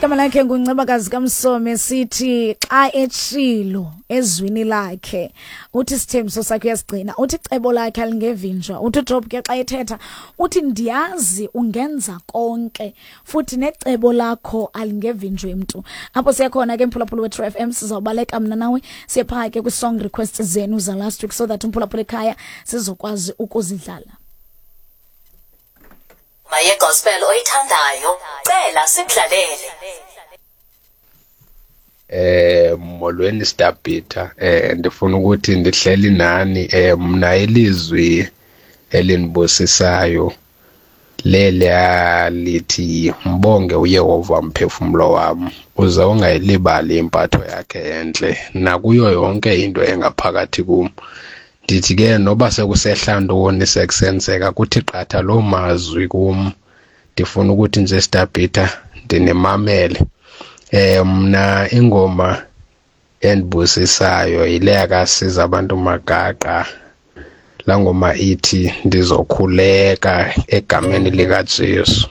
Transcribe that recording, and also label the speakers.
Speaker 1: Igama lakhe nguNcebakazi kaMsomi, sithi xa etshilo ezwini lakhe, uthi isithembiso sakhe uyasigcina, uthi icebo lakhe alingevinjwa. Uthi uJob ke xa ethetha uthi ndiyazi ungenza konke futhi necebo lakho alingevinjwe mntu. Apho siya khona ke, mphulaphula we-True FM, sizawubaleka mna nawe siye phaa ke kwi-song request zenu za last week so that umphulaphula ekhaya sizokwazi ukuzidlala.
Speaker 2: Maye gospel oyithandayo, cela sikudlalele.
Speaker 3: Molweni Stabita, ndifuna ukuthi ndihleli nani. Mna ilizwi elinibusisayo leliya lithi, "Mbonge uYehova mphefumlo wam, uze ungayilibali impatho yakhe entle nakuyo yonke into engaphakathi kum." Ndithi ke noba sekusehla ntoni, sekusenzeka, kuthi qatha loo mazwi kum. Ndifuna ukuthi nje, Stabita, ndinimamele. Mna ingoma endibusisayo yile yakasiza abantu Magaqa, laa ngoma ithi "Ndizokhuleka egameni likaJesu".